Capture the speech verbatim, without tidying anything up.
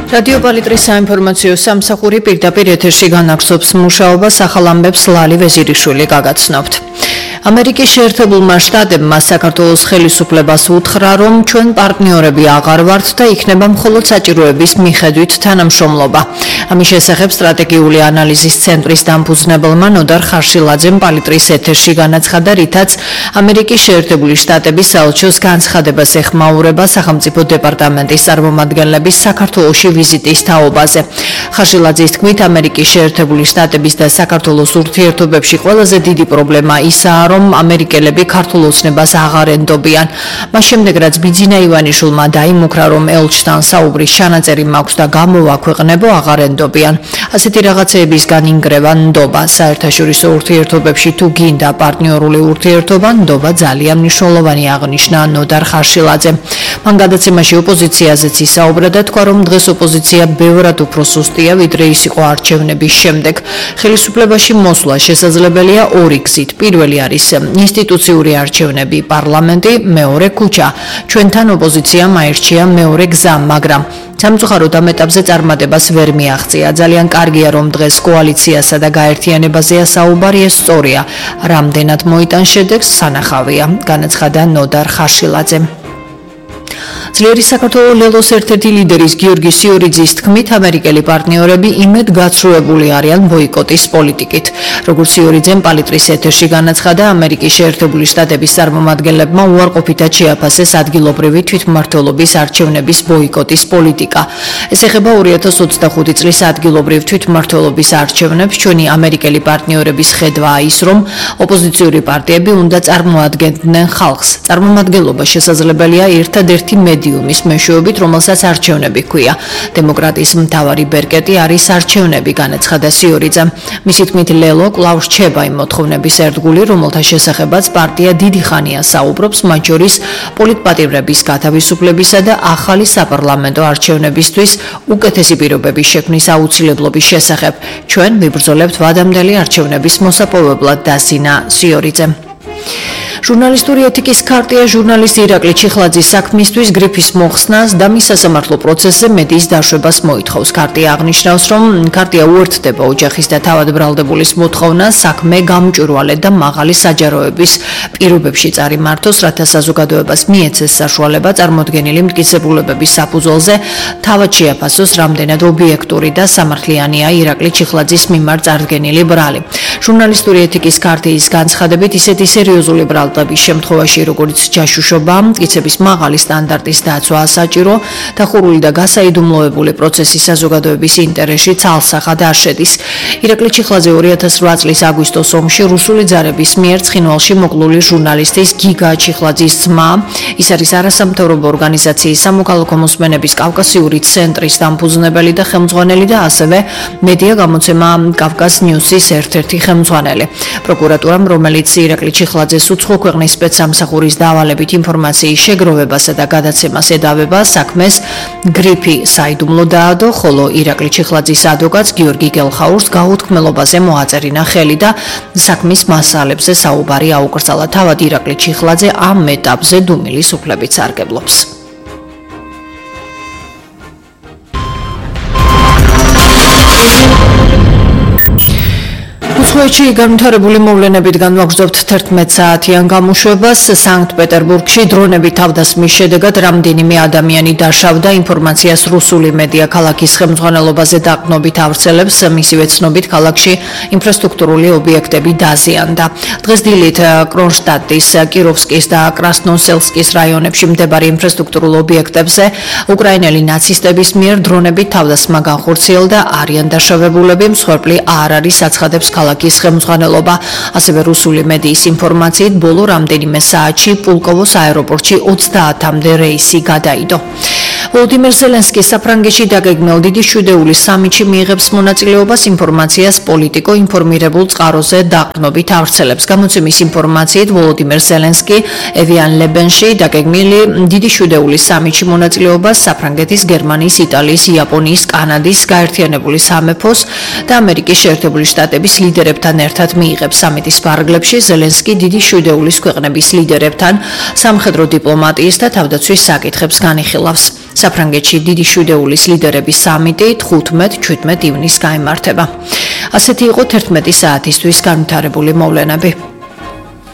რადიო პალიტრის საინფორმაციო სამსახური პირდაპირ ეთერში განაგრძობს მუშაობას, ახალ ამბებს ლალი ვეზირიშვილი გაგაცნობთ. ამერიკის შეერთებულმა შტატებმა საქართველოს ხელისუფლებას უთხრა, რომ ჩვენ პარტნიორები აღარ ვართ და იქნება მხოლოდ საჭიროების მიხედვით თანამშრომლობა. ამის შესახებ სტრატეგიული ანალიზის ცენტრის დამფუძნებელმა ნოდარ ხარშილაძემ პალიტრის ეთერში განაცხადა, რითაც ამერიკის შეერთებული შტატების საელჩოს განცხადებას ეხმაურება სახელმწიფო დეპარტამენტის წარმომადგენლების საქართველოში ვიზიტის თაობაზე. ხარშილაძის თქმით, ამერიკის შეერთებული შტატების და საქართველოს ურთიერთობებში ყველაზე დიდი პრობლემა ისაა, რომ ამერიკელები ქართულ ოცნებას აღარ ენდობიან. მას შემდეგ, რაც ბიძინა ივანიშვილმა დაიმუქრა, რომ ელჩთან საუბრის ჩანაწერი მაქვს და გამოვაქვეყნებო, აღარ ენდობიან. ასეთი რაღაცეებისგან ინგრევა ნდობა. საერთაშორისო ურთიერთობებში თუ გინდა პარტნიორული ურთიერთობა, ნდობა ძალიან მნიშვნელოვანი, აღნიშნა ნოდარ ხარშილაძემ. მან გადაცემაში ოპოზიციაზეც ისაუბრა და თქვა, რომ დღეს ოპოზიცია ბევრად უფრო სუსტია, ვიდრე ის იყო არჩევნების შემდეგ. ხელისუფლებაში მოსვლა შესაძლებელია ორი გზით. პირველი არის ინსტიტუციური არჩევნები, პარლამენტი, მეორე ქუჩა. ჩვენთან ოპოზიციამ აირჩია მეორე გზა, მაგრამ სამწუხაროდ ამ ეტაპზე წარმატებას ვერ მიაღწია. ძალიან კარგია, რომ დღეს კოალიციასა და გაერთიანებაზეა საუბარი, ეს სწორია. რამდენად მოიტან შედეგს სანახავია, განაცხადა ნოდარ ხარშილაძემ. ძლიერი საქართველოს ლელოს ერთ-ერთი ლიდერის გიორგი სიორიძის თქმით, ამერიკელი პარტნიორები იმედ გაცრუებული არიან ბოიკოტის პოლიტიკით. როგორც სიორიძემ პალიტრის ეთერში განაცხადა, ამერიკის შეერთებული შტატების წარმომადგენლებმა უარყოფითად შეაფასეს ადგილობრივი თვითმმართველობის არჩევნების ბოიკოტის პოლიტიკა. ეს ეხება ორი ათას ოცდახუთი წლის ადგილობრივ თვითმმართველობის არჩევნებს. ჩვენი ამერიკელი პარტნიორების ხედვაა ის, რომ ოპოზიციური პარტიები უნდა წარმოადგენდნენ ხალხს. წარმომადგენლობა შესაძლებელია ერთადერთი მედიუმის მეშვეობით, რომელსაც არჩევნები ჰქვია. დემოკრატიის მთავარი ბერკეტი არის არჩევნები, განაცხადა სიორიძემ. მისი თქმით, ლელო კვლავ რჩება იმ მოთხოვნების ერთგული, რომელთა შესახებაც პარტია დიდი ხანია საუბრობს, მათ შორის პოლიტპატიმრების გათავისუფლებისა და ახალი საპარლამენტო არჩევნებისთვის უკეთესი პირობების შექმნის აუცილებლობის შესახებ. ჩვენ ვიბრძოლებთ ვადამდელი არჩევნების მოსაპოვებლად, დასინა სიორიძემ. ჟურნალისტური ეთიკის ქარტია ჟურნალისტ ირაკლი ჩიხლაძის საქმისთვის გრიფის მოხსნას და მის სასამართლო პროცესზე მედიის დაშვებას მოითხოვს. ქარტია აღნიშნავს, რომ ქარტია უერთდება ოჯახის და თავად ბრალდებულის მოთხოვნას საქმე გამჭვირვალე და მაღალი საჯაროების პირობებში წარიმართოს, რათა საზოგადოებას მიეცეს საშუალება წარმოდგენილი მტკიცებულებების საფუძველზე თავად შეაფასოს, რამდენად ობიექტური და სამართლიანია ირაკლი ჩიხლაძის მიმართ წარდგენილი ბრალი. ჟურნალისტური ეთიკის ქარტიის განცხადებით, ისეთი სერიოზული ბრალი შემთხვევაში, როგორც ჯაშუშობა, მტკიცების მაღალი სტანდარტის დაცვა საჭირო, დახურული და გასაიდუმლოებული პროცესი საზოგადოების ინტერესში ცალსახად არ შედის. ირაკლი ჩიხლაძე ორი ათას რვა წლის აგვისტოს ომში რუსული ძარების მიერ ცხინვალში მოკლული ჟურნალისტის გიგა ჩიხლაძის ძმა, ის არის არასამთავრობო ორგანიზაციის სამოქალაქო მოსმენების კავკასიური ცენტრის დამფუძნებელი და ხელმძღვანელი და ასევე მედია გამოცემა კავკას ნიუსის ერთ-ერთი ხელმძღვანელი. პროკურატურამ, რომელიც ირაკლი ჩიხლაძეს უცხო ქვეყნის სპეცსამსახურის დავალებით ინფორმაციის შეგროვებასა და გადაცემას ედავება, საქმეს გრიფი საიდუმლო დაადო, ხოლო ირაკლი ჩიხლაძის ადვოკატს გიორგი გელხაურს გაუთქმელობაზე მოაწერინა ხელი და საქმის მასალებზე საუბარი აუკრძალა. თავად ირაკლი ჩიხლაძე ამ ეტაპზე დუმილის უფლებით სარგებლობს. უცხოეთში განვითარებული მოვლენებით განვაგრძობთ თერთმეტ საათიან გამოშვებას. სანქტ-პეტერბურგში დრონები თავდასხმის შედეგად რამდენიმე ადამიანი დაშავდა. ინფორმაციას რუსული მედია ქალაქის ხელმძღვანელობაზე დაყრდნობით ავრცელებს. მისივე ცნობით, ქალაქში ინფრასტრუქტურული ობიექტები დაზიანდა. დღეს დილით კრონშტადტის, კიროვსკის და კრასნოსელსკის რაიონებში მდებარე ინფრასტრუქტურულ ობიექტებზე უკრაინელი ნაცისტების მიერ დრონებით თავდასხმა განხორციელდა. არიან დაშავებულები, მსხვერპლი არ არის, აცხადებს ქალაქის ხელმძღვანელობა. ასევე რუსული მედიის ინფორმაციით, ბოლო რამდენიმე საათში პულკოვოს აეროპორტში ოცდაათამდე რეისი გადაიდო. ვოლოდიმირ ზელენსკის საფრანგეთში დაგეგმილ დიდი შვიდეულის სამიტში მიიღებს მონაწილეობას. ინფორმაციას პოლიტიკო ინფორმირებულ წყაროზე დაყრდნობით ავრცელებს. გამოცემის ინფორმაციით, ვოლოდიმირ ზელენსკი ევიან ლებენში დაგეგმილი დიდი შვიდეულის სამიტში მონაწილეობას საფრანგეთის, გერმანიის, იტალიის, იაპონიის, კანადის, გაერთიანებული სამეფოს და ამერიკის შეერთებული შტატების ლიდერებთან ერთად მიიღებს. სამიტის ფარგლებში ზელენსკი დიდი შვიდეულის ქვეყნების ლიდერებთან სამხედრო დიპლომატიის და თავდაცვის საკითხებს განიხილავს. საფრანგეთში დიდი შვიდეულის ლიდერების სამიტი თხუთმეტ-ჩვიდმეტ ივნისს გაიმართება. ასეთი იყო თერთმეტი საათისთვის განვითარებული მოვლენები.